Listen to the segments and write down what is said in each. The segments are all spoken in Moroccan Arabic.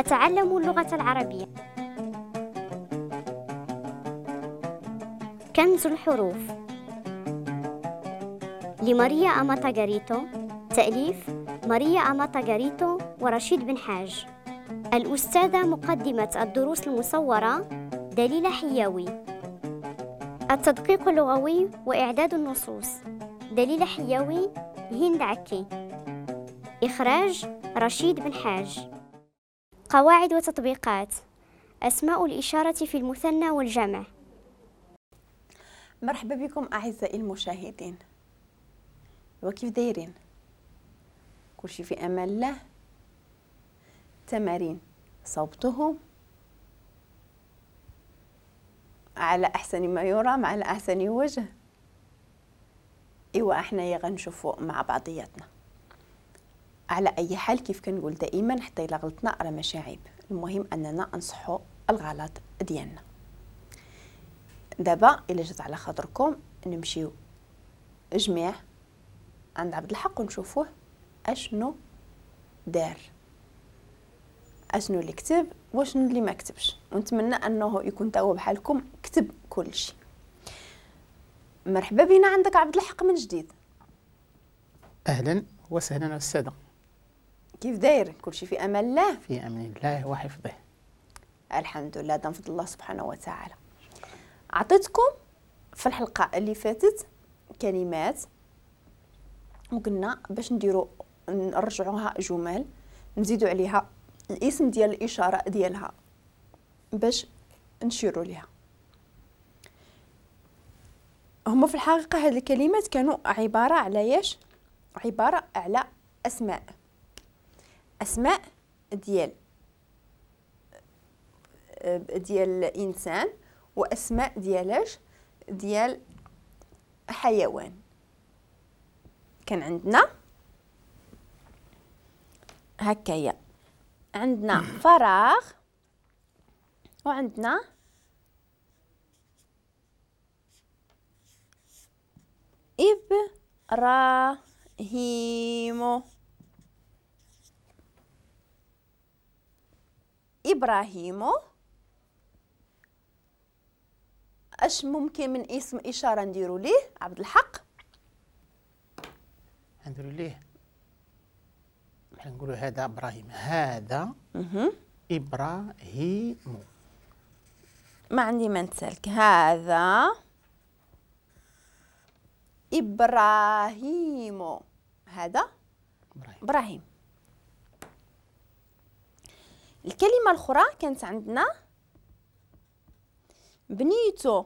أتعلم اللغة العربية. كنز الحروف لماريا أماتا غاريتو، تأليف ماريا أماتا غاريتو ورشيد بن حاج. الأستاذة مقدمة الدروس المصورة دليلة حياوي. التدقيق اللغوي وإعداد النصوص دليلة حياوي، هند عكي. إخراج رشيد بن حاج. قواعد وتطبيقات. أسماء الإشارة في المثنى والجمع. مرحبا بكم أعزائي المشاهدين، وكيف دايرين؟ كلشي في أمان الله. تمارين صوبتهم على أحسن ما يرام، على أحسن وجه. إيوا احنا غنشوفوا مع بعضياتنا. على أي حال كيف كنقول دائما، حتى إلا غلطنا راه ماشي عيب، المهم أننا نصحوا الغلط ديالنا. دابا إلا جات على خاطركم نمشيو جميع عند عبد الحق ونشوفوه اشنو دار، اشنو اللي كتب واشنو اللي ما كتبش، ونتمنى انه يكون تا هو بحالكم كتب كل شيء. مرحبا بنا عندك عبد الحق من جديد. اهلا وسهلا استاذه. كيف داير؟ كل شيء في امان الله. في امان الله وحفظه. الحمد لله، دام فضل الله سبحانه وتعالى. عطيتكم في الحلقة اللي فاتت كلمات وقلنا باش نديرو نرجعوها جمل، نزيدو عليها الاسم ديال الاشارة ديالها باش نشيروا ليها. هما في الحقيقة هاد الكلمات كانوا عبارة على ياش؟ عبارة على اسماء، اسماء ديال الانسان، واسماء ديالاش؟ ديال حيوان. كان عندنا هكايا، عندنا فراغ وعندنا إبراهيم. إبراهيم اش ممكن من اسم إشارة نديرو ليه عبد الحق؟ نديرو ليه بحال نقولوا هذا إبراهيم، هذا إبراهيم. ما عندي ما نسالك. هذا إبراهيم، هذا إبراهيم. الكلمة الأخرى كانت عندنا بنيتو.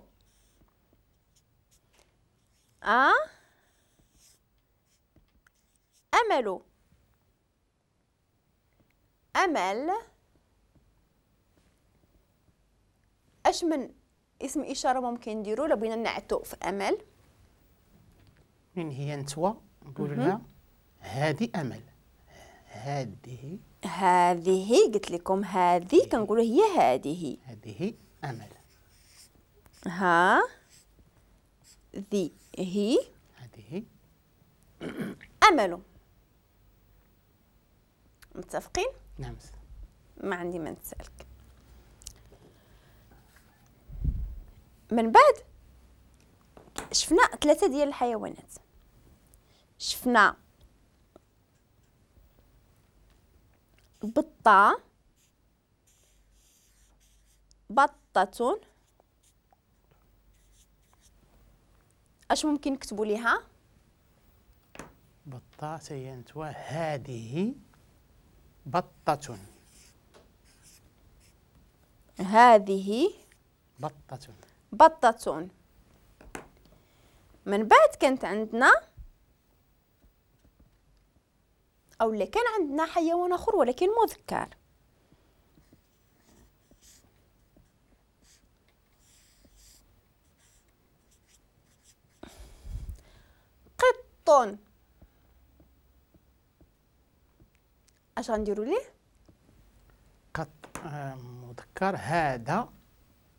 أملو، أمل. أش من اسم إشارة ممكن نديرو لو بغينا نعتو في أمل؟ من هي نتوى نقولوا لها هذه أمل. هذه، هذه قلت لكم هذه كنقولوا هي هذه، هذه أمل. ها ذي هي هذه أمل. متفقين؟ نعم. ما عندي ما نسألك. من بعد شفنا ثلاثة ديال الحيوانات. شفنا بطة، بطة. اش ممكن نكتبوا ليها؟ بطة سينتوا هذه بطة. هذه بطة، بطة. من بعد كانت عندنا أو اللي كان عندنا حيوان آخر ولكن مذكر. قط. اش غنديروا ليه؟ قط مذكر. هذا